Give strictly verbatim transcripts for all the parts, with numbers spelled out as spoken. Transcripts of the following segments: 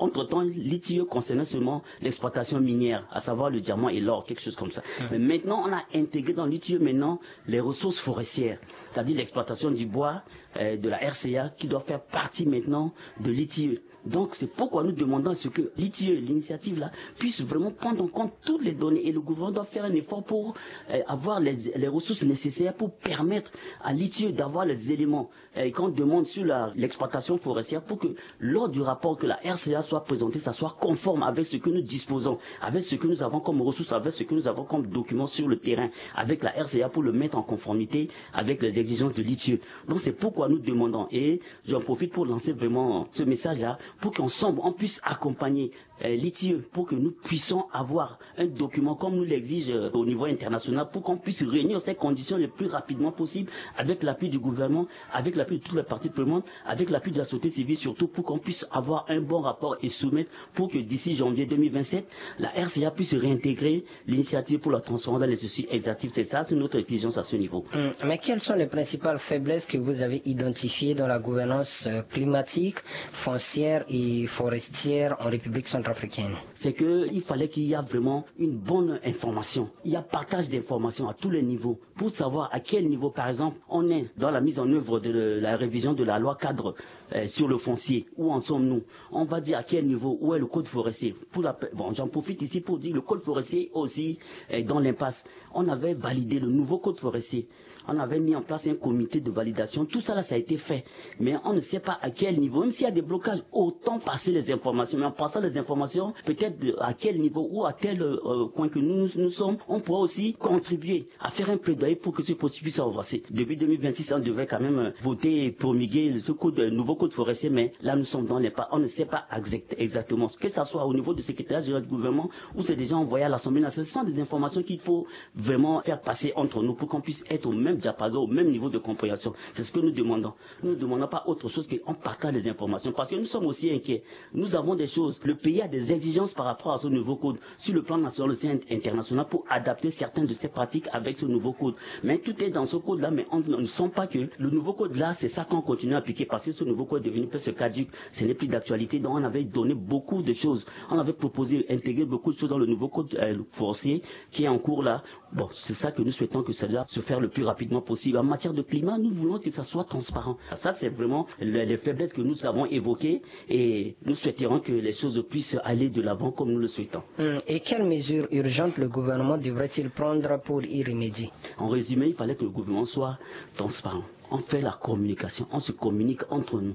Entre-temps, l'I T I E concernait seulement l'exploitation minière, à savoir le diamant et l'or, quelque chose comme ça. Mais maintenant, on a intégré dans l'I T I E maintenant les ressources forestières, c'est-à-dire l'exploitation du bois, euh, de la R C A, qui doit faire partie maintenant de l'I T I E. Donc, c'est pourquoi nous demandons à ce que l'I T I E, l'initiative là, puisse vraiment prendre en compte toutes les données et le gouvernement doit faire un effort pour, euh, avoir les, les ressources nécessaires pour permettre à l'I T I E d'avoir les éléments, euh, qu'on demande sur la, l'exploitation forestière pour que lors du rapport que la R C A soit présentée, ça soit conforme avec ce que nous disposons, avec ce que nous avons comme ressources, avec ce que nous avons comme documents sur le terrain, avec la R C A pour le mettre en conformité avec les exigences de l'I T I E. Donc c'est pourquoi nous demandons, et j'en profite pour lancer vraiment ce message-là, pour qu'ensemble on puisse accompagner, euh, l'I T I E, pour que nous puissions avoir un document comme nous l'exige, euh, au niveau international, pour qu'on puisse réunir ces conditions le plus rapidement possible avec l'appui du gouvernement, avec l'appui de toutes les parties prenantes, avec l'appui de la société civile surtout, pour qu'on puisse avoir un bon rapport et soumettre pour que d'ici janvier deux mille vingt-sept, la R C A puisse réintégrer l'initiative pour la transparence dans les sociétés extractives. C'est ça, c'est notre exigence à ce niveau. Hmm, mais quelles sont les principales faiblesses que vous avez identifiées dans la gouvernance, euh, climatique, foncière et forestière en République centrafricaine ? C'est que il fallait qu'il y a vraiment une bonne information. Il y a partage d'informations à tous les niveaux pour savoir à quel niveau, par exemple, on est dans la mise en œuvre de la révision de la loi cadre, euh, sur le foncier. Où en sommes-nous ? On va dire à quel niveau, où est le code forestier ? Pour la, bon, j'en profite ici pour dire le code forestier aussi est dans l'impasse. On avait validé le nouveau code forestier. On avait mis en place un comité de validation. Tout ça là, ça a été fait. Mais on ne sait pas à quel niveau. Même s'il y a des blocages, autant passer les informations. Mais en passant les informations, peut-être de, à quel niveau ou à tel, euh, coin que nous, nous, nous sommes, on pourra aussi contribuer à faire un plaidoyer pour que ce processus puisse avancer. Depuis deux mille vingt-six, on devait quand même, euh, voter et promulguer ce code, euh, nouveau code forestier. Mais là, nous sommes dans l'impasse. On ne sait pas exact-, exactement. Que ça soit au niveau du secrétariat général du gouvernement ou c'est déjà envoyé à l'Assemblée nationale. Ce sont des informations qu'il faut vraiment faire passer entre nous pour qu'on puisse être au même diapason, au même niveau de compréhension. C'est ce que nous demandons. Nous ne demandons pas autre chose qu'on partage les informations parce que nous sommes aussi inquiets. Nous avons des choses. Le pays a des exigences par rapport à ce nouveau code sur le plan national aussi, in-, international, pour adapter certaines de ces pratiques avec ce nouveau code. Mais tout est dans ce code-là, mais on, on ne sent pas que le nouveau code-là, c'est ça qu'on continue à appliquer parce que ce nouveau code est devenu presque caduc. Ce n'est plus d'actualité. Donc, on avait donné beaucoup de choses. On avait proposé, intégré beaucoup de choses dans le nouveau code, euh, forestier qui est en cours là. Bon, c'est ça que nous souhaitons que cela se fasse le plus rapidement possible. En matière de climat, nous voulons que ça soit transparent. Ça, c'est vraiment le, les faiblesses que nous avons évoquées et nous souhaiterons que les choses puissent aller de l'avant comme nous le souhaitons. Hmm, et quelles mesures urgentes le gouvernement devrait-il prendre pour y remédier ? En résumé, il fallait que le gouvernement soit transparent. On fait la communication, on se communique entre nous.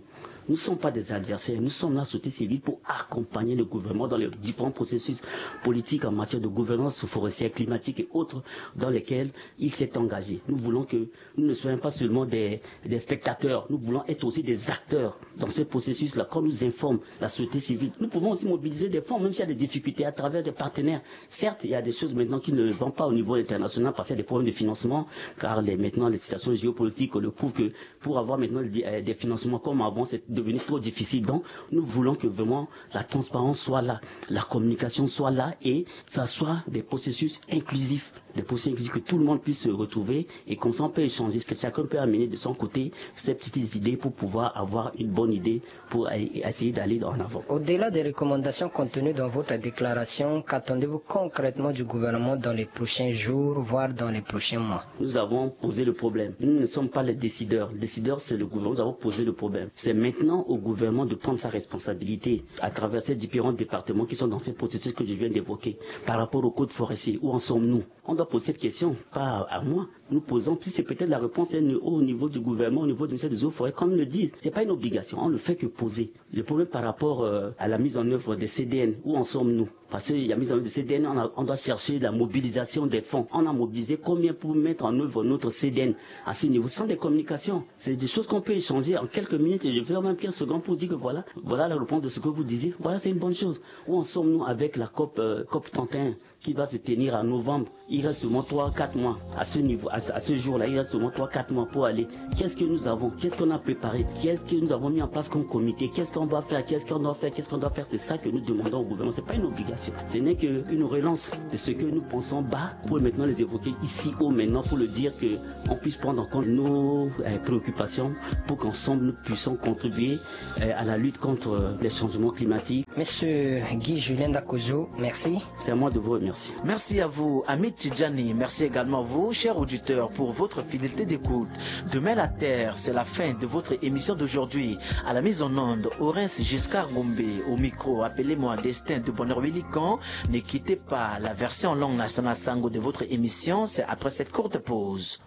Nous ne sommes pas des adversaires, nous sommes la société civile pour accompagner le gouvernement dans les différents processus politiques en matière de gouvernance forestière, climatique et autres dans lesquels il s'est engagé. Nous voulons que nous ne soyons pas seulement des, des spectateurs, nous voulons être aussi des acteurs dans ce processus-là. Quand on nous informe, la société civile, nous pouvons aussi mobiliser des fonds, même s'il y a des difficultés à travers des partenaires. Certes, il y a des choses maintenant qui ne vont pas au niveau international parce qu'il y a des problèmes de financement, car les, maintenant les situations géopolitiques le prouvent que pour avoir maintenant des, euh, des financements comme avant, c'est devenu trop difficile. Donc, nous voulons que vraiment la transparence soit là, la communication soit là et ça soit des processus inclusifs, des processus inclusifs que tout le monde puisse se retrouver et comme ça on peut échanger, que chacun peut amener de son côté ses petites idées pour pouvoir avoir une bonne idée pour essayer d'aller en avant. Au-delà des recommandations contenues dans votre déclaration, qu'attendez-vous concrètement du gouvernement dans les prochains jours, voire dans les prochains mois ? Nous avons posé le problème. Nous ne sommes pas les décideurs. Le décideur, c'est le gouvernement. Nous avons posé le problème. C'est maintenant au gouvernement de prendre sa responsabilité à travers ces différents départements qui sont dans ces processus que je viens d'évoquer. Par rapport au code forestier, où en sommes-nous ? On doit poser cette question, pas à moi. Nous posons, puis c'est peut-être la réponse est au niveau du gouvernement, au niveau du ministère des Eaux et Forêts, comme ils le disent. C'est pas une obligation, on ne fait que poser. Le problème par rapport, euh, à la mise en œuvre des C D N, où en sommes-nous ? Parce que la mise en œuvre des C D N, on a, on doit chercher la mobilisation des fonds. On a mobilisé combien pour mettre en œuvre notre C D N à ce niveau ? Ce sont des communications. C'est des choses qu'on peut échanger en quelques minutes et je vais même quinze secondes pour dire que voilà, voilà la réponse de ce que vous disiez. Voilà, c'est une bonne chose. Où en sommes-nous avec la COP, euh, COP trente et un ? Qui va se tenir en novembre. Il reste seulement trois, quatre mois. À ce niveau, à ce, à ce jour-là, il reste seulement trois, quatre mois pour aller. Qu'est-ce que nous avons ? Qu'est-ce qu'on a préparé ? Qu'est-ce que nous avons mis en place comme comité ? Qu'est-ce qu'on va faire ? Qu'est-ce qu'on doit faire ? Qu'est-ce qu'on doit faire ? C'est ça que nous demandons au gouvernement. C'est pas une obligation. Ce n'est qu'une relance de ce que nous pensons bas pour maintenant les évoquer ici haut maintenant pour le dire que on puisse prendre en compte nos, euh, préoccupations pour qu'ensemble nous puissions contribuer Et, euh, à la lutte contre, euh, les changements climatiques. Monsieur Guy Julien Dakozo, merci. C'est à moi de vous remercier. Merci à vous, Amit Tidjani. Merci également à vous, chers auditeurs, pour votre fidélité d'écoute. Demain la Terre, c'est la fin de votre émission d'aujourd'hui. À la mise en onde, Orens Giscard Gombe. Au micro, appelez-moi Destin de Bonheur Willican. Ne quittez pas la version langue nationale sango de votre émission. C'est après cette courte pause.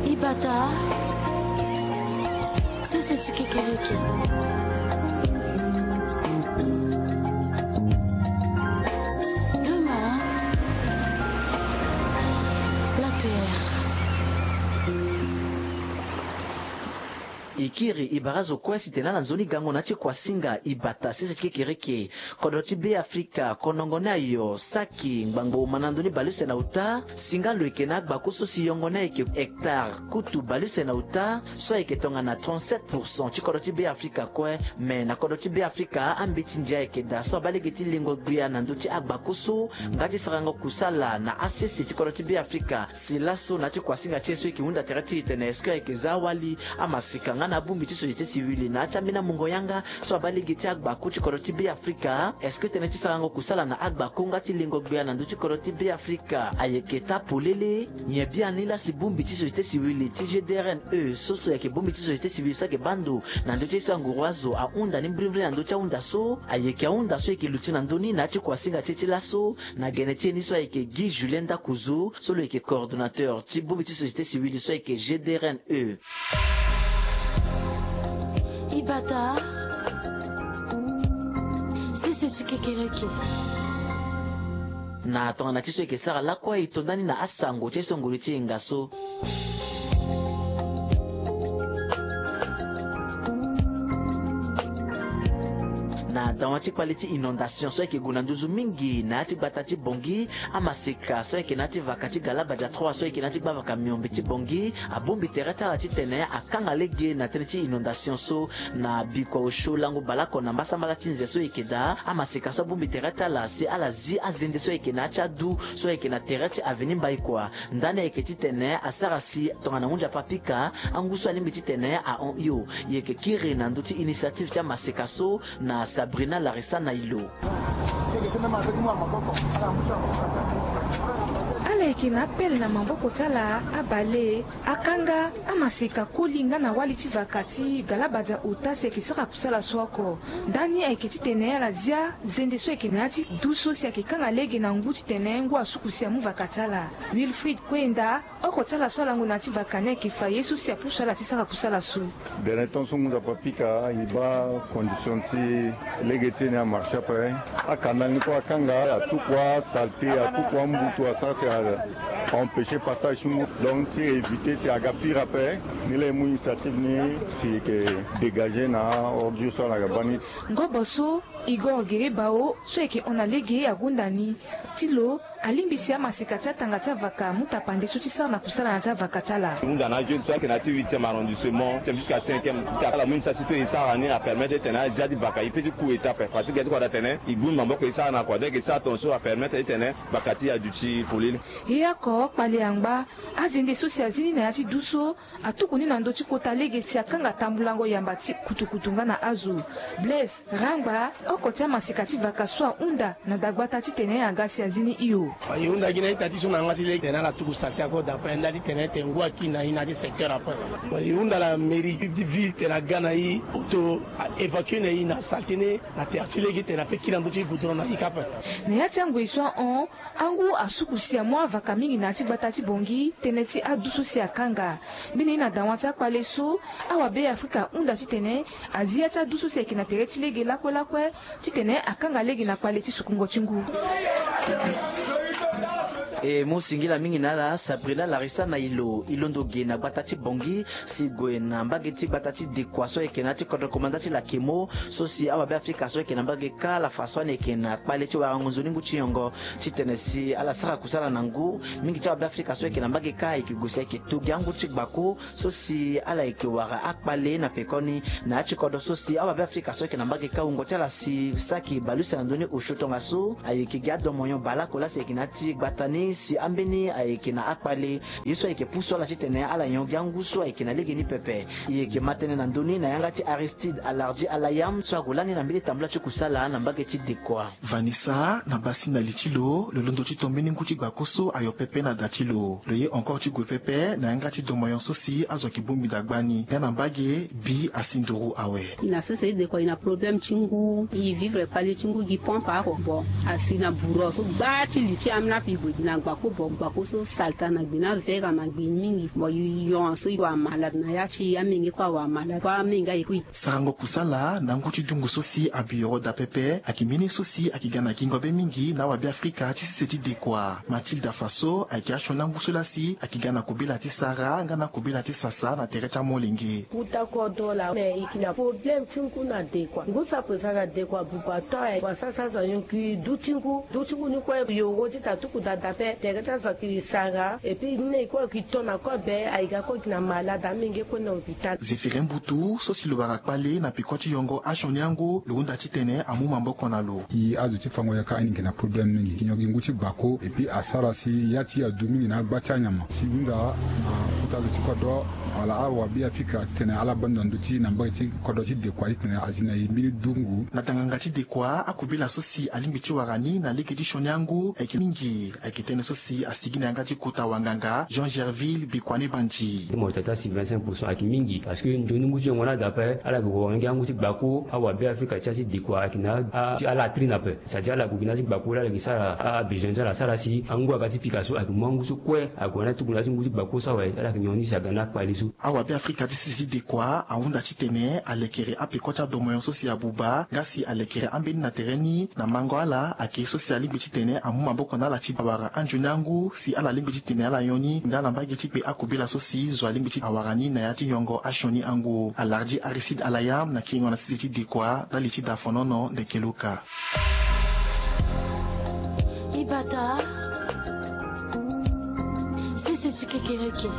Ibata, sese ti kekereke. Demain, la terre. E kiri e bara zo kue si tene ala nzoni gango na ya ti kuasinga Ibata sese ti kekereke. Kodro ti Beafrika, konongo ni ayo, saki ngbangbo uma na ndö ni baleuse na uta. Singa lo yeke na agbaku so si yongo ni ayeke hectare kutu baleuse na uta, so ayeke tongana trente-sept pour cent ti kodro ti Beafrika kue. Me na kodro ti Beafrika, ambeti ndia ayeke daa so abaa lege ti lengo gbia na ndö ti agbaku so nga ti sarango kusala na asese ti kodro ti Beafrika. Si laso na ya ti kuasinga ti e so e yeke hunda tere ti e tene est-ce que ayeke za awali amaseka nga na abongbi ti société civile na ya ti ambeni amungo yanga so abaa lege ti agbaku ti kodro ti Beafrika? Est-ce que tënë ti sarango kusala na agbaku nga ti lengo gbia na ndö ti kodro ti Beafrika ayeke taa polele? Nyen biani la si bongbi ti société civile ti G D R N E so so ayeke bongbi ti société civile so ayeke baa ndo na ndö ti ye so anguru azo ahunda ni mbirimbiri na ndö ti ahunda so? Ayeke ahunda so e yeke luti na ndö ni na ya ti kuasinga ti e ti laso. Na gene ti e ni so ayeke Guy Julien Dakuzu so lo yeke coordonnateur ti bongbi ti société civile so ayeke G D R N E. Ibata, sese ti kekereke. Na tongana ti so e yeke sara lakue, e to ndani na asango ti e so nguru ti e hinga so. Na dawa ti kpale ti inondation so ayeke gue na nduzu mingi na ya ti gbata ti Bangui, amaseka so ayeke na ya ti vaka ti Galabadia trois so ayeke na ya ti gbavaka miombe ti Bangui abongbi tere ti ala titene akanga lege na tënë ti inondation so. Na bikua osio lango baleoko na mbasambala ti nze so e yeke daa, amaseka so abongbi tere ti ala si ala zi azende so ayeke na ya ti adu so ayeke na tere ti avenue Mbaïkoua. Ndani ayeke titene asara si tongana hunzi apapika angu so alingbi titene ahon hio. E yeke kiri na ndö ti initiative ti amaseka so na Sabrina Larissa Nailo. Ala yeke na apele na maboko ti ala abale akanga amaseka koli nga na wali ti vaka ti Galabadia ota si ayeke sara kusala so oko. Ndani ayeke titene ala zia zende so ayeke na ya ti du so si ayeke kanga lege na ngu titene ngu asuku si amu vaka ti ala. Wilfried Kwenda, oko ti ala so alango na ya ti vaka ni ayeke fa ye so si apusu ala ti sara kusala so. Dernier temps so ngu nzapa pika e baa condition ti lege ti e ni amarche ape. Akanal ni kue akanga, atukua saleté, atukua mbutu asara si a empêcher passage ti ngu. Donc ti éviter si aga pire ape. Ni laa e mu initiative ni si e yeke dégager na ordure so ala ga baa ni. Ngobo so Igor Gueré Bao so ayeke hon na lege agonda ni ti lo alingbi si amaseka ti atanga ti avaka amu tapande so ti sara na kusala na ya ti avaka ti ala. E hunda na ajeune so ayeke na ya ti huitième arrondissement jusqu'à cinquième. Ala mu initiative ti e sara ni apermettre titene azia ti vaka e peut ti ku étape parce que e ti kua daa tene e gbu ni maboko e sara na kua donc e sara tongaso apermettre titene vaka ti e aduti polele. E oko kpale angba azende so si azi ni na ya ti du so atuku ni na ndö ti kota lege si akanga tambulango yamba ti kutukutu nga na azo. Blaise Rangba, oko ti amaseka ti vaka so ahunda na dagbata titene aga si azi ni hio. E hunda gi na ita ti so na yanga ti lege tene ala tuku saleté ako dape nda titene tene ngu akiri na e na ya ti secteur ape. E hunda la mairie ti ville tene aga na e auto a évacuer na e na saleté ni na tere ti lege tene ape kiri na ndö ti goudron na e ka ape. Na ya ti angoi so ahon, angu asuku si amu avaka mingi na ya ti gbata ti Bangui tënë ti adu so si akanga. Mbeni ye na dawa ti akpale so awabeafrika ahunda titene azi ya ti adu so si ayeke na tere ti lege lakue lakue titene akanga lege na kpale ti sukungo ti ngu. E mu singila mingi na ala Sabrina Larissa na ilo, e londo ge na gbata ti Bangui si gue na mbage ti gbata ti Dekoa so ayeke na ya ti kodro komanda ti Lakemo, so si awa Beafrika so ayeke na mbage kâ ala fa so ani yeke na kpale ti warango nzoni ngu ti nyongo, titene si ala sara kusala na ngu. Mingi ti awa Beafrika so ayeke na mbage kâ ayeke gue si ayeke to gi angu ti gbako so si ala yeke wara akpale na pekoni na ya ti kodro so si awa Beafrika so ayeke na mbage kâ wungo ti ala si saki bale use na ndö ni osio tongaso ayeke gi adomoyon baleoko laa si ayeke na ya ti gbata ni si ambeni ayeke na akpale. Ye so ayeke pusu ala titene ala nyon gi angu so ayeke na legeni pepe. E yeke ma tënë na ndö ni na yanga ti Aristide Alardi Alayam so ague lani na mbeni tambula ti kusala na mbage ti Dekoa. Vanessa, na basi na li ti lo, lo londo ti to mbeni ngu ti gbako so ayo pepe na da ti lo. Lo ye encore ti gue pepe na yanga ti domoyon so si azo ayeke bongbi da gbani nga na mbage bi asi nduru awe. E na sese e Dekoa, e na problème ti ngu, e vivre kpale ti ngu gi pompe oko. Bon, asi na bourreau so gba ti li ti ambeni ape e gue gi na gbako. Bon, gbako so salta na gbe na vega na gbe mingi. Bon, e yon so e wara malade na ya ti e, amenge kue awara malade kue, amenge aye kue. Sarango kusala na ngu ti dungu so si abi yoro da pepe ayeke mbeni so si ayeke ga na gingo be mingi na awa Beafrika ti sese ti Dekoa. Mathilda Faso ayeke asioni angu so laa si ayeke ga na kobela ti sara nga na kobela ti sasa na tere ti amolenge. Kuta kodro laa me e yeke na problème ti ngu na Dekoa. Ngu so ape fa na Dekoa buba to aye wa sasa azo anyon gi du ti ngu. Du ti ngu ni kue yoro ti ta tuku da da ape. Tere ti azo ayeke sara et puis ni na e kue ayeke to na kobe, aye ga kue gi na malade, amenge kue na hôpital. Zéphiré Mbutu so si lo wara kpale na peko ti yongo asioni angu, lo hunda titene amu maboko na lo. E azo ti fango yaka ani yeke na problème mingi. Yeke nyon gi ngu ti gbako et puis asara si ya ti e adu mingi na agba ti anyama. Si e hunda na kota zo ti kodro wala awa Beafrika titene ala bando na ndö ti e na mbage ti kodro ti Dekoa titene azi na e mbeni dungu. Na tanganga ti Dekoa, akobela so si alingbi ti wara ni na lege ti sioni angu ayeke mingi. Ayeke tënë so si asigi na yanga ti kota wanganga Jean Gerville Bikwane Banji. Ti mo tata si vingt-cinq pour cent ayeke mingi parce que nzoni ngu ti yongo ni ada ape, ala yeke wara nyon gi angu ti gbako. Awa Beafrika ti ya ti Dekoa ayeke na a- ti ala latrine ape. C'est-à-dire ala gue gi na ya ti gbako laa ala yeke sara a- abesoin ti ala asara si angu aga ti pika so ayeke mu angu so kue ague na ya ti tuku na ya ti ngu ti gbako so awe, ala yeke nyon ni si aga na akpale so. Awa Beafrika ti sese ti Dekoa ahunda titene alekere apeko ti adomoyon so si abuba nga si alekere ambeni na tere ni na mango ala. Ayeke so si alingbi titene amu maboko na ala ti awara anzoni angu si ala lingbi titene ala nyon ni nga na mbage ti kpe akobela so si zo alingbi ti awara ni na ya ti yongo asioni angu. Alardi Aristide Alayam na kiringo na sese ti Dekoa ndali ti da fonono ndeke luka. Ibata, sese ti kekereke.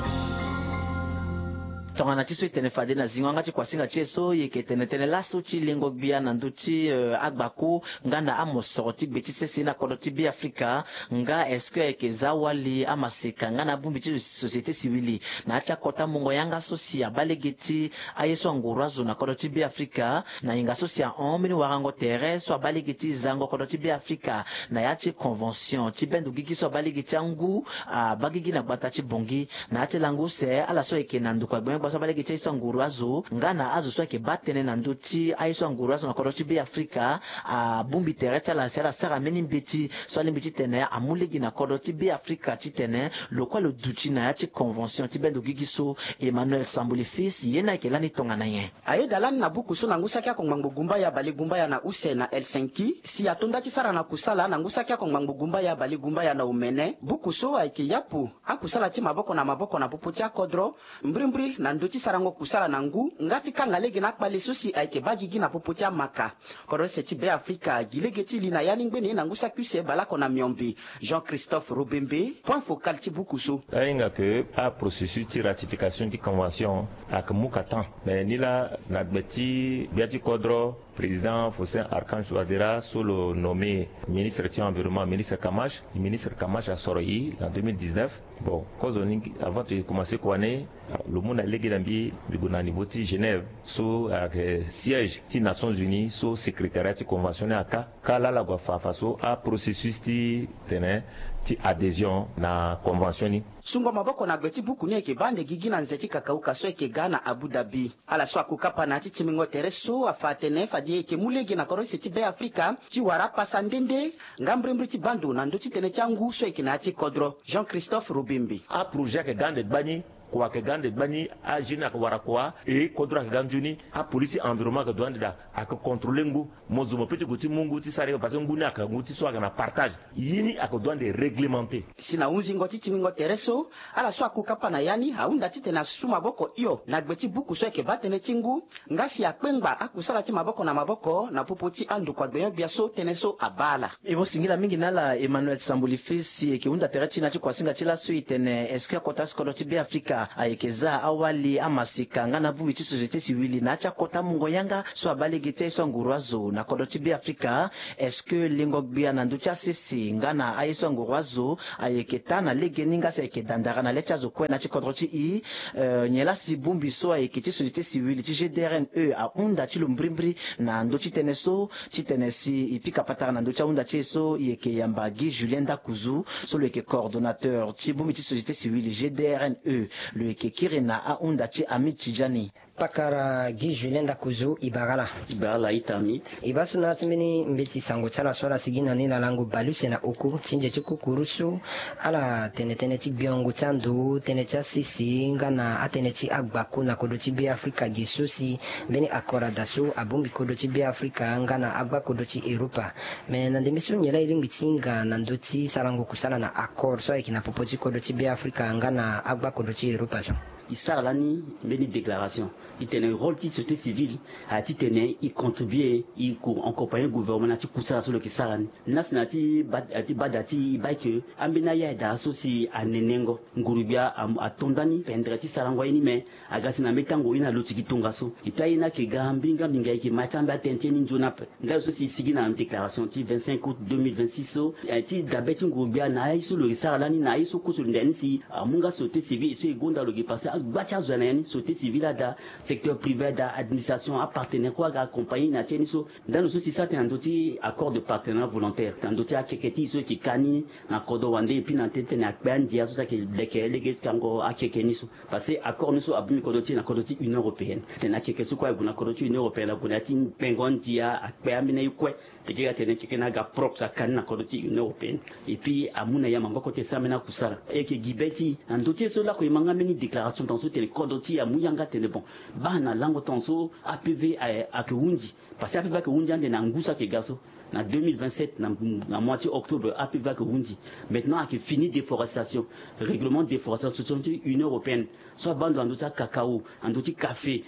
Tongana ti so e tene fade na zingo yanga ti kuasinga ti e so, e yeke tene tënë laso ti lengo gbia na ndö ti, eh, agbako nga na amosoro ti gbe ti sese na kodro ti Beafrika. Nga est-ce que ayeke za wali amaseka nga na abongbi ti société civile na ya ti akota mungo yanga so si abaa lege ti aye so anguru azo na kodro ti Beafrika? Na hinga so si ahon mbeni warango tere so abaa lege ti zango kodro ti Beafrika na ya ti convention ti bendo gigi so abaa lege ti angu abaa gigi na gbata ti Bangui. Na ya ti lango use, ala so ayeke na ndokua gbengbe so abaa lege ti aye so anguru azo nga na azo so ayeke baa tënë na ndö ti aye so anguru azo na kodro ti Beafrika abongbi tere ti ala si ala sara mbeni mbeti so alingbi titene amu lege na kodro ti Beafrika titene lo kue lo duti na ya ti convention ti bendo gigi so. Emmanuel Sambuli Fils, ye ni ayeke lani tongana nyen? Ayeda lani na buku so na ngu saki akongba ngbongbongba ya balegbongba ya na use na Helsinki si ato nda ti sara na kusala na ngu saki akongba ngbongbongba ya balegbongba ya na omene. Buku so ayeke yapu akusala ti maboko na maboko na popo ti akodro, mbrimbri na ndö ti sarango kusala na ngu nga ti kanga lege na akpale so si ayeke baa gigi na popo ti amaka. Kodro use ti Beafrika gi lege ti li na ya ni ngbene na ngu saki use baleoko na miombe. Jean Christophe Robembe, point focal ti buku so. Ahinga ke aprocessus ti ratification ti convention ayeke mu ka temps. Mais ni laa na gbe ti gbia ti kodro, président Faustin Archange Touadéra so lo nommé ministre ti environnement, ministre Kamash. Ministre Kamash asoro e na deux mille dix-neuf. Bon, kozoni avant ti commencer kua ni, lo mu na lege na mbi, mbi gue na niveau ti Genève so ayeke siège ti Nations Unies so secrétariat ti convention ni aka. Ka laa ala gue afa afa so aprocessus ti tene ti adhésion na convention ni. Sungo maboko na gbe ti buku ni ayeke baa ande gigi na nze ti kakauka so ayeke ga na Abu Dhabi. Ala so akokapa na ya ti timbingo tere so afa atene fade e yeke mu lege na kodro use ti Beafrika ti wara apasa nde nde nga mbrimbri ti baa ndo na ndö ti tënë ti angu so ayeke na ya ti kodro. Jean Christophe Robembe. Aprojet ayeke ga ande gbani. Kua ayeke ga ande gbani, ajeune ayeke wara kua. E kodro ayeke ga nzoni. Apolisi environnement ayeke doit ande daa, ayeke contrôler ngu. Mo zo mo pe ti gue ti mu ngu ti sara ye parce que ngu ni ayeke ngu ti so ayeke na partage. Ye ni ayeke doit ande réglementer. Si na hunzingo ti tingbingo tere so, ala so aku kapa na ya ni ahunda titene asu maboko hio na gbe ti buku so ayeke baa tënë ti ngu, nga si akpengba akusala ti maboko na maboko na popo ti andokua gbenyo-gbia so tënë so abaa ala. E mo singila mingi na ala Emmanuel Sambuli Fils si e yeke hunda tere ti e na ya ti kuasinga ti laso e tene est-ce que akota so kodro ti Beafrika ayeke za awali, amaseka nga na abongbi ti société civile na ya ti akota mungo yanga so abaa lege ti aye so anguru azo na kodro ti Beafrika? Est-ce que lingo gbia na ndö ti asese nga na aye so anguru azo ayeke taa na legeni nga si ayeke dandara na le ti azo kue na ya ti kodro ti e? Eh, nyen laa si bongbi so ayeke ti société civile ti G D R N E ahunda ti lo mbirimbiri na ndö ti tënë so, titene si e pika patara na ndö ti ahunda ti e so, e yeke yamba Guy Julien Ndakuzu so lo yeke coordonnateur ti bongbi ti société civile G D R N E. Lo yeke kiri na ahunda ti Hamid Tidjani. Pakara Guy Julien Ndakuzu, e bara ala. E bara ala ita Hamid. E baa so na ya ti mbeni mbeti sango ti ala so ala sigi na ni na lango bale use na oko ti nze ti kukuru so ala tene tënë ti gbiongo ti ando, tënë ti asese nga na atënë ti agbaku na kodro ti Beafrika, ge so si mbeni accord ada so abongbi kodro ti Beafrika nga na agba kodro ti Europa. Me na ndembe so nyen laa e lingbi ti hinga na ndö ti sarango kusala na accord so ayeke na popo ti kodro ti Beafrika nga na agba kodro ti Europa so? E sara lani mbeni déclaration, e tene rôle ti société civile ayeke titene e contribuer, e accompagner gouvernement na ya ti kusala so lo yeke sara ni. Lani si na ya ti baa, ya ti baa da ti e baa ke ambeni aya daa so si anenengo nguru-gbia a, ato ndani pendere ti sarango aye ni, me aga si na mbeni tango ye ni aloti gi tongaso. Et puis aye ni ayeke ga mbinga mbinga, e yeke ma ti ambeni atënë ti ye ni nzoni ape. Nga lo so si e sigi na déclaration ti vingt-cinq août deux mille vingt-six so, eh, ti dabe ti nguru-gbia na aye so lo yeke sara lani na aye so kue so lo nda ni si amu nga société civile so e gonda lo yeke passé agba ti azo na ya ni, société civile ada, secteur privé ada, administration, apartenaire kue aga accompagner na ya ti ye ni so. Ndani lo so si e sara tënë na ndö ti accord de partenariat volontaire na ndö ti akeke ti e so e yeke ka ni na kodro wande, et puis na tënë ti tene akpe andia so si ayeke leke lege ti kango akeke ni so. Parce que accord ni so abongbi kodro ti e na kodro ti Union européenne. Tene akeke so kue ague na kodro ti Union européenne, ague na ya ti kpengo andia, akpe ambeni aye kue. Teke ga tene keke ni aga propre, aka ni na kodro ti Union européenne. Et puis amu na ya maboko ti e sara ambeni akusala. E yeke gi be ti e na ndö ti e so lako e ma nga mbeni déclaration tongaso tene kodro ti e amu yanga tene bon, baa na lango tongaso A P V ayeke hunzi. Parce que A P V ayeke hunzi ande na ngu so ayeke ga so. Na deux mille vingt-sept, na, na mois ti octobre, A P V ayeke hunzi. Maintenant ayeke fini déforestation, règlement déforestation ti Union européenne so abaa ndo na ndö ti akakao, na ndö ti café.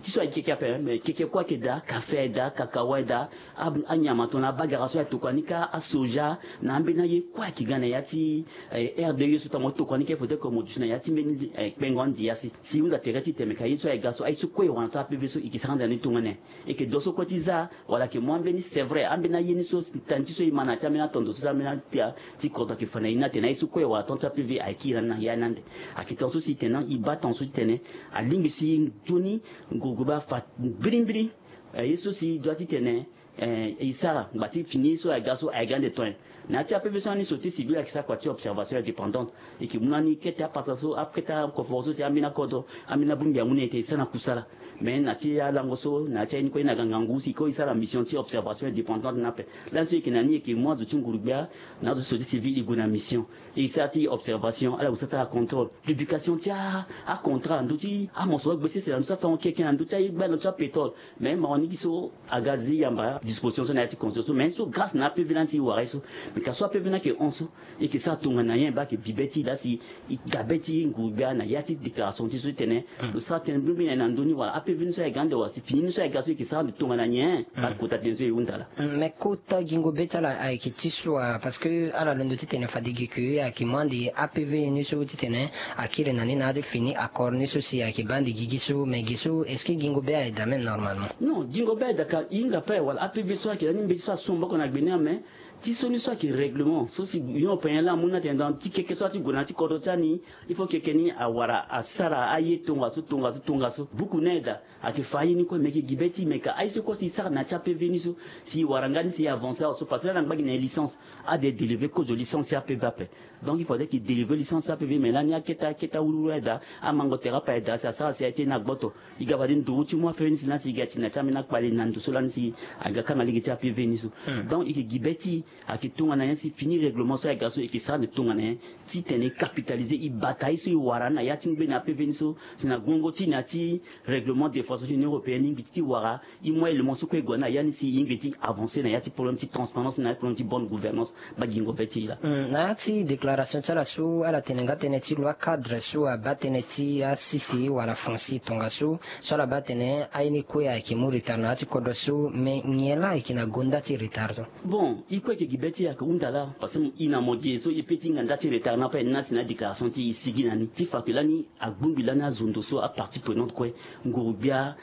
Ti so ayeke keke ape, mais keke kue ayeke daa, café aye daa, cacao aye daa, a, anyama tongana abagara so ayeke tokua ni kâ, asoja, na ambeni aye kue ayeke ga na ya ti, eh, R D E so tongana mo tokua ni kâ, il faudrait que mo duti na ya ti mbeni, eh, kpengo andia si, si e hunda tere ti tene ka ye so ayeke ga so, aye so kue e wara na taa A P V so e yeke sara ande na ni tongana nyen. E yeke do so kue ti za, wala ayeke mu ambeni, c'est vrai, ambeni aye ni so, tani ti so e ma na ya ti ambeni atondo so, ambeni atia ti kodro ayeke fa na e ni atene aye so kue e wara tongaso ti A P V ayeke kiri na ni na ya ni ande. Ayeke tongaso si e tene e baa tongaso ti tene alingbi si nzoni nguruguru baa fa mbirimbiri. Eh, ye so si e doit ti tene, eh, e sara ngba ti fini ye so ayeke ga so ayeke ga ande to nyen. Na ya ti A P V so lani société civile ayeke sara kua ti observation indépendante. E yeke mu lani kete apasa so, akete akoforo so si ambeni akodro, ambeni abongbi amu na e tene e sara na kusala. Mais na ya ti alango so, na ya ti aye ni kue, ye na ga ngangu si e kue e sara mission ti observation indépendante ni ape. Lani so e yeke na ni, e yeke mu azo ti nguru-gbia na azo ti société civile e gue na mission. E sara ti observation, ala gue sara ti acontrôle. Publication ti a, acontrât na ndö ti amosoro gbe sese na ndö ti afango keke, na ndö ti aye gbia, na ndö ti apétrole. Mais mawa ni gi so aga zi yamba disposition so na ya ti constitution so, mais so grâce na A P V lani si e wara ye so. Mais ka so A P V ni ayeke hon so, e yeke sara tongana nyen baa ayeke bi be ti e laa si e ga be ti nguru-gbia na ya ti déclaration ti so ti tene lo sara tënë mbirimbiri na e na ndö ni, wala A P V ni so ayeke ga ande, wala si fini ni so ayeke ga so e yeke sara ande tongana nyen? Baa kota tënë so e hunda laa. Mm, mais kota gingo be ti ala ayeke ti so wa, parce que ala londo ti tene fade gi ke ayeke mu ande A P V ni so ti tene akiri na ni na ya ti fini accord ni so si ayeke baa ande gigi so, mais gi so est-ce que gingo be aye daa même normalement? Non, gingo be aye daa, ka e hinga ape, wala A P V so ayeke lani mbeti so asu maboko na gbe ni ame. Ti so ni so ayeke règlement so si Union européenne laa amu ni atene donc ti keke so ati gue na ya ti kodro ti ani, il faut keke ni awara asara aye tongaso, tongaso, tongaso. Buku ni aye daa, ayeke fa aye ni kue, me yeke gi be ti e, me ka aye so kue si e sara na ya ti A P V ni so, si e wara nga ni si e avancer awe so, parce que laa na ngba gi na e licence, ade délivrer kozo licence ti A P V ape. Donc il faudrait que e délivrer licence ti A P V, mais lani akete akete awuruwuru aye daa, amango tere ape aye daa si asara si aye ti e ni agboto. E ga fade nduru ti mu A P V ni si lani si e ga ti na ya ti ambeni akpale na ndo so lani si aga kanga lege ti A P V ni so. Donc e yeke gi be ti e, Ayeke tongana nyen si fini règlement so ayeke ga so e yeke sara nde tongana nyen titene e capitaliser e bata ye so e wara na ya ti ngbene apv ni so si na guengo ti na ya ti règlement défense ti union européenne ni ngbi ti ti wara. E moi élément so kue e gue na ya ni si e yingbi ti avancer na ya ti problème ti transparence na ya ti problème ti bonne gouvernance. Ba gingo be ti e la. Na ya ti déclaration ti ala so ala tene nga tënë ti loi cadre so abaa tënë ti asese wala foncier tongaso so ala baa atene aye ni kue ayeke mu retard na ya ti kodro so mais nyen laa ayeke na gonda ti retard so? Bon, e kue ayeke gi be ti e ayeke hunda laa parce que e na mo gi e so e pe ti hinga nda ti retard ni ape ni na si na adéclaration ti e e sigi na ni ti fa ke lani agbongbi lani azo ndo so apartie prenante kue, nguru-gbia,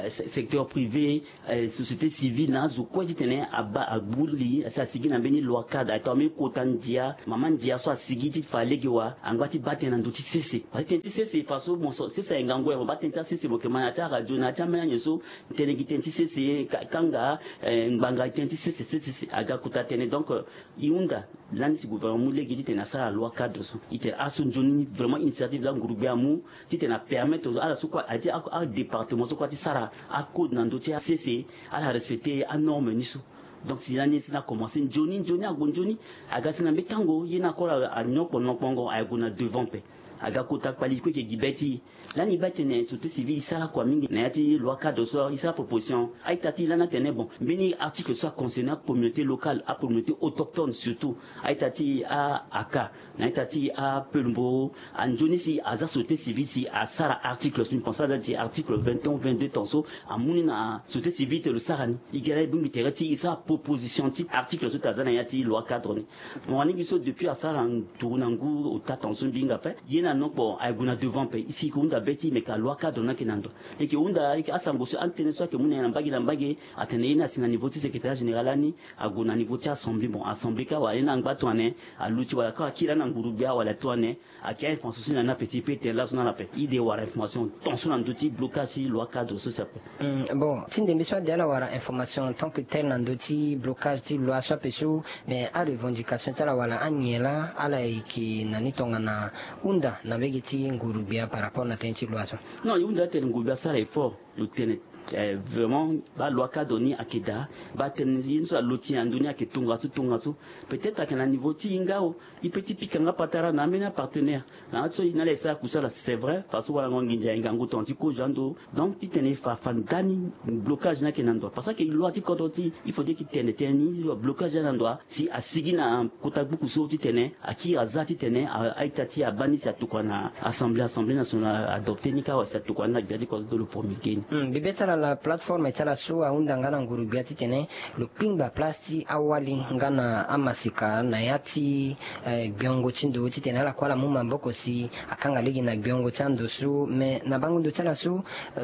secteur privé, société civile na azo kue titene abaa agbu li asi asigi na mbeni loi cadre aye tongana mbeni kota ndia mama ndia so asigi ti fa lege wa angba ti baa tënë na ndö ti sese parce que tënë ti sese fa so mo so sese aye ngangu aye mo baa tënë ti asese mo yeke ma na ya ti aradio na ya ti ambeni anyen so tënë gi tënë ti sese kanga ngbanga gi tënë ti sese sese aga kota tënë donc e hunda lani si gouvernement mu lege titene asara loi cadre so e tene aso nzoni vraiment initiative laa nguru-gbia amu titene apermettre ala so kue aye ti adépartement so kue aye ti sara acode na ndö ti asese ala respecter anorme ni so. Donc si lani si na commencer nzoni nzoni ague nzoni aga si na mbeni tango ye ni akora anokpo nokpongo aye gue na devant mpe aga kota kpali kue eke gi be ti e. Lani e baa tene société civile e sara kua mingi na ya ti loi cadre so e sara proposition a-ita ti e lani atene bon mbeni article so aconcerner acommunauté locale acommunauté autochtone surtout a-ita ti e a-aka na a-ita ti e apelemboro anzoni si aza société civile si asara article so mbi pense aza ti article vingt et un vingt-deux ton so amu ni na société civile te lo sara ni. E gi ala e bongbi tere ti e sara proposition ti article so te aza na ya ti loi cadre ni. Mo wani gi so depuis asara nduru na ngu ota ton so mbi hinga ape ye na nokpo aye gue na devant mpe e si e ke hunda be ti e meke aloi cadre ni ayeke na ndo. E ke hunda e ke asango so atënë so ayeke mu na e na mbage na mbage atene ye ni asi na niveau ti secrétariat général lani ague na niveau ti assemblée bon assemblée kâ wala ye ni angba tongana aluti wala kâ akiri lani na nguru-gbia wala tongana ayeke a-information so na ni ape ti e pe tene laso na ala ape e de wara information ton so na ndö ti blocage ti loi cadre so si ape. Bon ti ndembe so ade ala wara information en tant que tel na ndö ti blocage ti loi so ape so mais arevendication ti ala wala anyen laa ala yeke na ni tongana hunda na mbege ti nguru-gbia par rapport na tënë ti loi so? Non e hunda atene nguru-gbia asara effort lo tene vraiment baa loi cadre ni ayeke daa baa tënë ye ni so alo ti e na ndö ni ayeke tongaso tongaso. Peut-être ayeke na niveau ti e nga o e pe ti pika nga patara na ambeni apartenaire na ya ti so e na ala e sara kusala c'est vrai fa so warango nginza aye ngangu ton ti kozo ando donc titene e fa fa ndani blocage ni ayeke na ndo parce que ayeke loi ti kodro ti e il faut dire e tene tënë ni blocage ni na ndo si asigi na kota gbuku so titene akiri aza titene a-ita ti e abaa ni si atokua na assemblée assemblée nationale adopter ni kâ wala si atokua ni na gbia ti kodro ti lo promulguer ni. Mbi be ti ala la plateforme ti ala so ahunda nga na nguru-gbia titene lo kpingba place ti awali nga na amaseka na ya ti gbiongo ti ndo titene ala kue ala mu maboko si akanga lege na gbiongo ti ando so mais na bango ndo ti ala so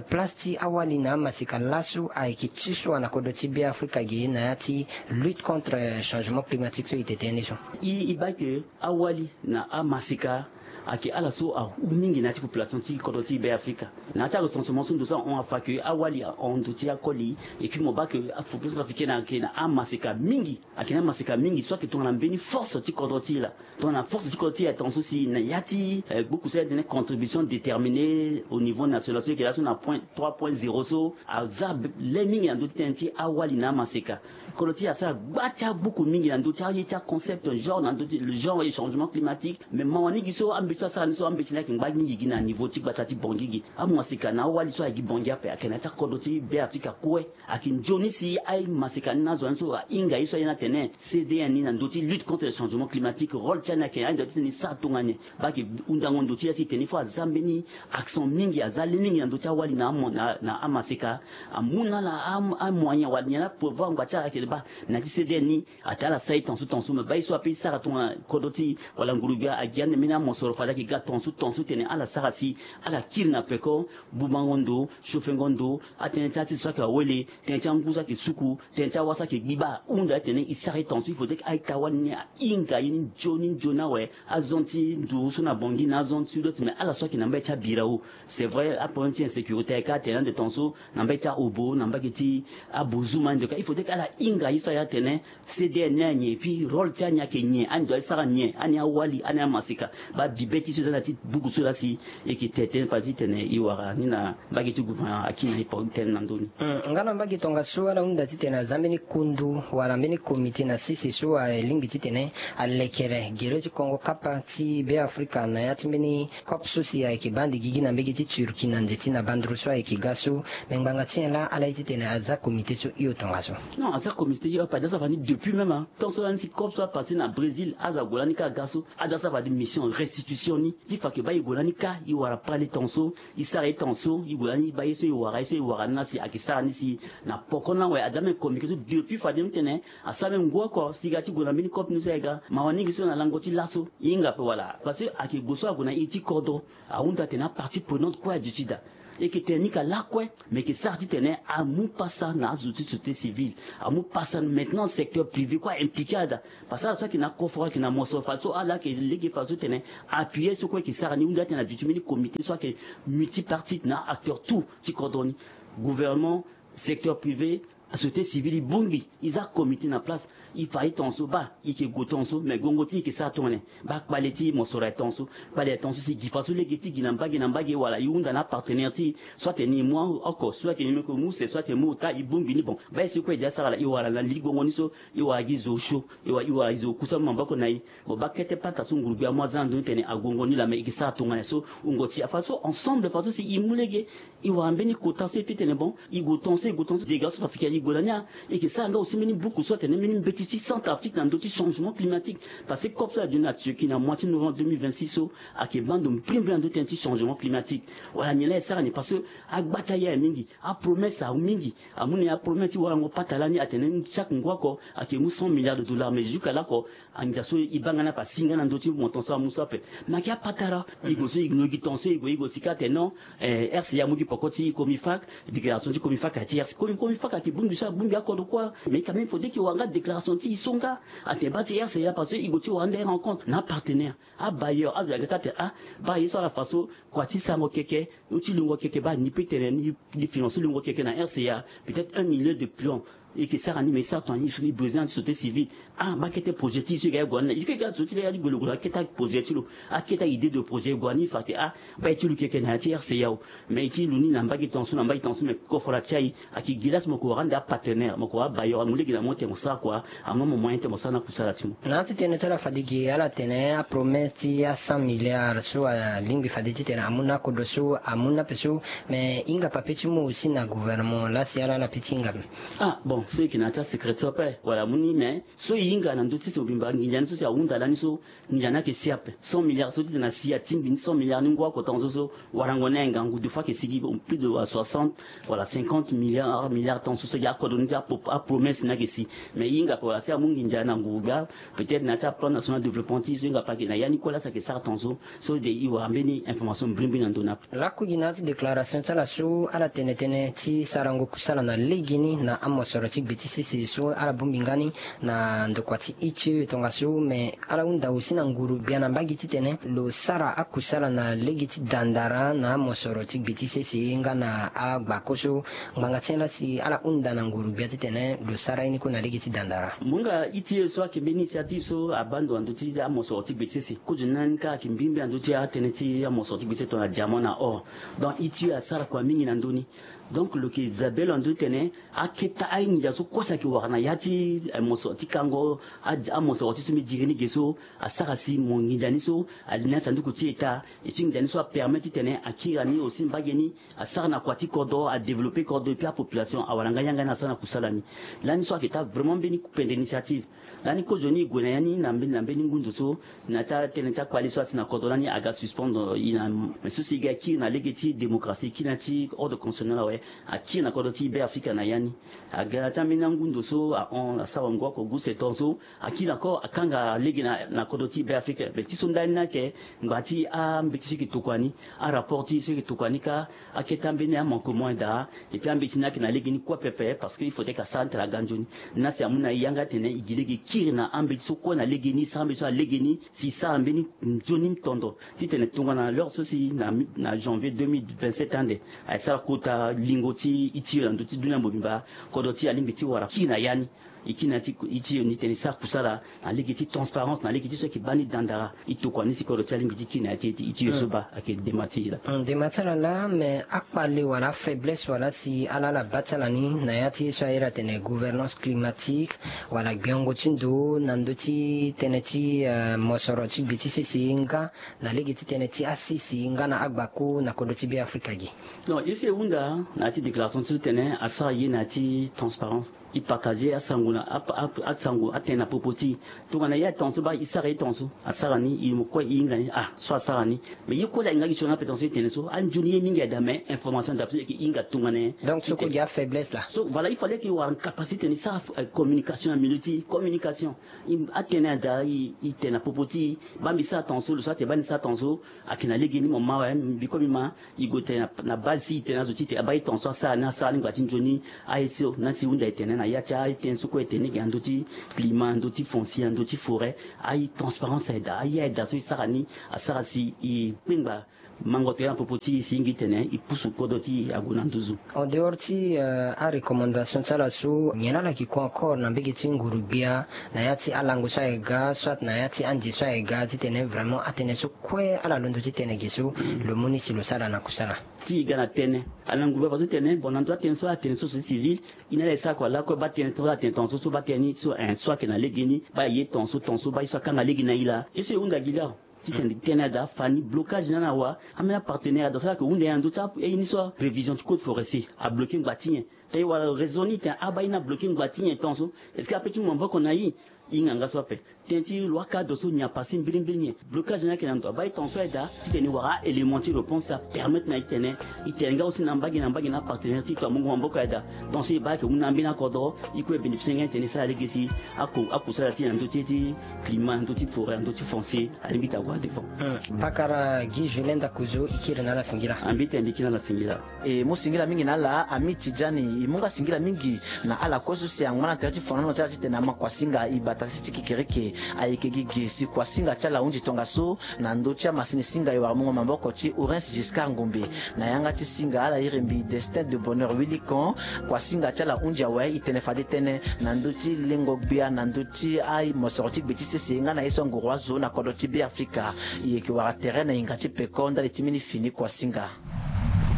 place ti awali na amaseka laso ayeke ti so wa na kodro ti Beafrika ge na ya ti lutte contre changement climatique so e tene ni so? E baa ke awali na amaseka ayeke ala so ahu mingi na ya ti population ti kodro ti Beafrika. Na ya ti arecensement so ndo so ahon afa ke awali ahon ndo ti akoli et puis mo baa ke apopulation africaine ayeke na amaseka mingi. Ayeke na amaseka mingi so ayeke tongana mbeni force ti kodro ti e laa tongana force ti kodro ti e aye ton so si na ya ti gbuku so ayeke tene contribution déterminée au niveau national so ayeke laso na point trois point zéro so aza le mingi na ndö ti tënë ti awali na amaseka. Kodro ti e asara gba ti agbuku mingi na ndö ti aye ti aconcept genre na ndö ti le genre et changement climatique mais mawa ni gi so ambeti so asara ni so ambeti ni ayeke ngba mingi gi na niveau ti gbata ti bongi gi amaseka na awali so ayeke gi bongi ape ayeke na ya ti akodro ti Beafrika kue. Ayeke nzoni si amaseka ni na azo ni so ahinga ye so aye ni atene C D N ni na ndö ti lutte contre le changement climatique rôle ti ani ayeke aye ndo titene e sara tongana nyen? Baa ayeke hundango ndo ti ya ti e tene il faut aza mbeni accent mingi aza le mingi na ndö ti awali na amaseka amu na ala amoyen wala nyen la pouvoir ngba ti ala ayeke baa na ya ti C D N ni. Atene ala sara ye ton so ton so me baa ye so ape e sara tongana kodro ti e wala nguru-gbia agi ande mbeni amosoro fade ayeke ga ton so ton so tene ala sara si ala kiri na peko bubango ndo chauffengo ndo atënë ti ati so ayeke awele tënë ti angu so ayeke suku tënë ti awa so ayeke gbiba ahunda atene e sara ye ton so il faudrait ke a-ita wani ni ahinga ye ni nzoni nzoni awe. Azon ti nduru so na bongi na azon ti ndo ti me ala so ayeke na mbage ti abirao c'est vrai aproblème ti insécurité ayeke atene ande ton so na mbage ti aobo na mbage ti abozuma ande ka il faudrait ke ala hinga ye so aye atene C D N ni anyen et puis rôle ti ani ayeke nyen ani doit ti sara nyen ani awali ani amaseka. Baa bi Be ti so eza na ti buku so laa si e yeke tene tënë fa ti tene e wara ni na mbage ti gouvernement akiri na e poko tënë na ndö ni. Nga na mbage tongaso ala hunda titene aza mbeni kundu wala mbeni komite na sese so alingbi titene alekere gere ti kongo kapa ti Beafrika na ya ti mbeni COP so si ayeke baa ande gigi na mbage ti Turquie na nze ti na banduru so ayeke ga so. Me ngbanga ti nyen laa ala ye titene aza komite so hio tongaso? Non, aza komite hio ape, aza sara ni depuis même, hein. Tant so lani si COP so apasse na Brésil, aza gue lani kâ ga so, aza sara ni mission restitution ni. Ti fa ayeke baa e gue lani kâ, e wara pale tongaso, e sara ye tongaso, e gue lani e baa ye so e wara, ye so e wara ni laa si ayeke sara ni si na poko ni awe. Aza même communiqué so depuis fade ni tene asara même ngu oko si e ga ti gue na mbeni COP ni so e ga. Mawa ni gi so na lango ti laso e hinga ape wala. Parce que ayeke gue so ague na iri ti kodro, ahunda atene apartie prenante kue aduti daa. E yeke tene ni ka lakue, me e yeke sara titene amu pasa na azo ti société civile, amu pasa maintenant secteur privé kue a impliqué daa. Parce que ala so ayeke na koforo ayeke na mosoro fa so ala yeke lege fa so tene appuyer so kue e yeke sara ni. Hunda atene aduti mbeni comité so ayeke multipartite na acteur tout ti kodro ni, gouvernement, secteur privé, société civile, e bongbi, e za comité na place. E fa ye tongaso baa e yeke gue tongaso, me gongo ti e yeke sara tongana nyen? Baa kpale ti mosoro aye tongaso, kpale aye tongaso si e gi fa so lege ti e gi na mbage na mbage wala e hunda na apartenaire ti e so atene e mu oko so ayeke ni meko mu se so atene e mu ota e bongbi ni. Bon, baa ye so kue e de asara laa e wara na li gongo ni so e wara gi zo osio, e wara e wara e zo okusa mu maboko na e. Bon, baa kete pata so nguru gbia amu aza na ndö ni tene agongo ni laa me e yeke sara tongana nyen so wungo ti e afa so ensemble fa so si e mu lege. E wara mbeni kota so e peut tene bon, e gue tongaso, e gue tongaso, dégâts so africain e gue na ni. E yeke sara nga aussi mbeni buku so atene mbeni mbeti ti Centrafrique na ndö ti changement climatique. Parce que COP so aduti na Turquie na mois ti novembre deux mille vingt-six so ayeke baa ndo mbrimbri na ndö ti tënë ti changement climatique. Wala nyen laa e sara ni? Parce que agba ti aye aye mingi, apromesse awe mingi. Amu na e apromesse ti warango pata lani atene chaque ngu oko ayeke mu cent milliards de dollars, mais jusqu'à là oko, angia so e baa nga ni ape asi nga na ndö ti mo tongaso amu so ape. Me ayeke apatara. E gue so e gue, e gi tongaso e gue, e gue si ka atene non, eh, R C A amu gi poko ti Comifac, déclaration ti Comifac aye ti R C A. Comi, Comifac ayeke bongbi so abongbi akodro kue. Mais quand même faudrait que e wara nga déclaration ti e so nga atene baa ti R C A, parce que e gue ti wara nda e rencontre na apartenaire, abailleur, azo ya ga ka atene ah, baa ye so ala fa so, kua ti sarango keke, ti lungo keke, baa ni peut tene ni, ni financer lungo keke na R C A, peut-être un million de plomb. E yeke sara ni, mais e sara tongana nyen? E besoin ti société civile. Ah, baa kete projet ti e so e ga e gue na ni, e yeke ga so ti ga e ga ti gue lo gue na akete projet ti lo, akete idée de projet e gue na ni, e fa atene ah, baa e ti lu keke na ya ti R C A o. Mais e ti lu ni na mbage tongaso, na mbage tongaso, mais koforo atia e. Ayeke gi laa si mo yeke wara ande apartenaire, mo yeke wara abailleur, amu lege na mo tene mo sara kua, amu na mo moyen tene mo sara na kusala ti mo. Na ya ti tënë ti ala fade gi ala tene apromesse ti acent milliards so alingbi fade titene amu na akodro so, amu ni ape so. Mais e hinga pape ti mu aussi na gouvernement laa si ala, ala peut ti hinga ape. Ah bon, so e yeke na ya ti asecret so ape wala amu ni, mais so e hinga na ndö ti so mobimba nginza ni so si ahunda lani so, nginza ni ayeke si ape. Cent milliards so titene asi atingbi ni cent milliards ni ngu oko tongaso so, warango ni ayeke ngangu, deux fois ayeke si gi plus de soixante wala cinquante milliards, milliards tongaso so gi akodro ni ti apo, apromesse ni ayeke si. Mais e hinga ape wala si amu nginza na nguru gbia, peut-être na ya ti aplan national développement ti e so e hinga ape ayeke na ya ni kue laa si ayeke sara tongaso. So de e wara mbeni information mbrimbri na ndö ni ape. Lakui gi na ya ti déclaration ti ala so, ala tene tënë ti sarango kusala na legeni na amosoro ti gbe ti sese so ala bongbi nga ni na ndokua ti I T I E tongaso, me ala hunda aussi na nguru gbia na mbage titene lo sara akusala na lege ti dandara na amosoro ti gbe ti sese nga na agbako so. Ngbanga ti nyen laa si ala hunda na nguru gbia titene lo sara ye ni kue na lege ti dandara? Mo hinga I T I E so ayeke mbeni initiative so abaa ndo na ndö ti amosoro ti gbe ti sese. Kozoni ni kâ ayeke mbirimbi na ndö ti atënë ti amosoro ti gbe ti sese tongana diamant na or. Donc I T I E asara kua mingi na ndö ni. Donc lo yeke zia bê lo na ndö ti tene akete anginza so kue si ayeke wara na ya ti, eh, mosoro ti kango, a, amosoro ti so mbi diri ni ge so, asara si mo nginza ni so ali na ya sanduku ti État. Et puis nginza ni so apermet titene akiri na ni aussi mbage ni, asara na kua ti kodro, adévelopper kodro, et puis apopulation awara nga yanga ni asara na kusala ni. Lani so ayeke taa vraiment mbeni kupende initiative. Lani kozoni e gue na ya ni na mbeni, na mbeni ngu ndo so, na ya ti atënë ti akpale so asi na kodro lani aga suspendre e na, mais so si e ga e kiri na lege ti démocratie, e kiri na ya ti ordre constitutionnel awe, akiri na kodro ti Beafrika na ya ni. Aga na ya ti ambeni angu ndo so ahon asara ngu oko gu setan so, akiri na ko akanga lege na, na kodro ti Beafrika. Mais ti so ndani ni ayeke ngba ti ambeti so e yeke tokua ni, arapport ti e so e yeke tokua ni kâ, akete ambeni amanquement daa. Et puis ambeti ni ayeke na lege ni kue pepe, parce que il faudrait que asara ni tara ga nzoni. Ni laa si amu na e yanga atene e gi lege e kiri na ambeti so kue na lege ni, e sara ambeti so na lege ni, si e sara mbeni nzoni tondo. Titene tongana na l'heure so si na, na janvier deux mille vingt-sept ande, ayeke sara kota lingo ti I T I E na ndö ti dunia mobimba, kodro ti e alingbi ti wara kiri na ya ni. E kiri na ya ti e ti yo ni tene e sara kusala na lege ti transparence, na lege ti so ayeke baa ni dandara. E tokua ni si kodro ti alingbi ti kiri na ya ti e ti e ti yo so baa ayeke dema ti e laa. Dema ti ala laa, mais akpale wala afaiblesse wala si ala ala baa ti ala ni na ya ti ye so airi atene gouvernance climatique, wala gbengo ti ndo na ndö ti tënë ti mosoro ti gbe ti sese nga na lege ti tënë ti asisi nga na agbaku na kodro ti Beafrika gi. Donc ye so e hunda na ya ti déclaration ti so tene asara ye na ya ti transparence. E partager asango na asango atene na popo ti e. Tongana ye atonga so baa e sara ye tonga so asara ni, e mo kue e hinga ni ah so asara ni. Mais ye kue laa e hinga gi so ni ape tonga so e tene so anzoni ye mingi ayeke daa, mais information daa peso e yeke hinga tongana nyen. Donc so kue gi afaiblesse laa. So voilà, il fallait que e wara capacité ni sara communication na milieu ti communication. Atene ayeke daa e tene na popo ti e baa mbi sara tonga so, lo so atene baa ni sara tonga so. Ayeke na legeni mo ma awe, mbi kue mbi ma. E gue tene na base ti e tene azo ti e tene abaa e tonga so asara ni, asara ni ngba ti nzoni. Aye so na si hunda e tene na ya ti aye tënë so kue e tene ge na ndö ti climat, na ndö ti foncier, na ndö ti forêt. Aye transparence ayeke daa, aye ayeke daa so e sara ni asara si e kpengba mango tere na popo ti e si e yingi tene e pusu kodro ti e ague na nduzu. En dehors ti arecommandation ti ala so nyen ala yeke kue encore na mbege ti nguru-gbia na ya ti alango so ayeke ga soit na ya ti ande so ayeke ga titene vraiment atënë so kue ala londo ti tene ge so lo mu ni si lo sara na kusala. Ti e ga na tënë ala nguru-gbia fadeso tene bon na ndö ti atënë so atene so société civile. E na ala e sara kua lakue baa tënë tongaso ala tene tongaso so baa tënë ni so en so ayeke na legeni baa e ye tongaso tongaso baa ye so akanga lege na e laa ye so e hunda gi laa. Titene tënë adaa fani blocage ni ala na wa. Ambeni apartenaire adaa so ala yeke hunda nyen na ndö ti aye ni so arévision ti code forestier abloke ngba ti nyen? Tënë wala raison ni tene abaa ye ni abloke ngba ti nyen tongaso? Est-ce que ape ti mu maboko na e? E hinga nga so ape. Tënë ti lo akadre so nyen apase mbirimbiri nyen? Blocage ni ayeke na ndo abaa e tongaso aye daa titene e wara a-élément ti réponse apermettre na e tene e tene nga aussi na mbage na mbage na apartenaire ti e tongana mungo maboko aye daa. Tongaso e baa ayeke mu na ambeni akodro e kue e bénéficier nga titene e sara lege si akusala ti e na ndö ti climat, na ndö ti forêt, na ndö ti foncier alingbi ti ague na devant. Pakara Guy Julien Ndakuzo, e kiri na ala singila. Ambeni tene mbi kiri na ala singila. E mu singila mingi na ala ami Tidjani. E mu nga singila mingi na ala kue so si angba na tere ti fonono ti ala titene ama kuasinga e bata si ti kekereke. Ayeke gi ge si kuasinga ti ala ahunzi tongaso na ndö ti amasini singa e wara mungo maboko ti Orense Giscard Ngombe. Na yanga ti singa ala iri mbi Destin de Bonheur Willy Kan. Kuasinga ti ala ahunzi awe e tene fade tënë na ndö ti lengo gbia na ndö ti amosoro ti gbe ti sese nga na ye so anguru azo na kodro ti Beafrika. E yeke wara tere na hinga ti peko ndali ti mbeni fini kuasinga.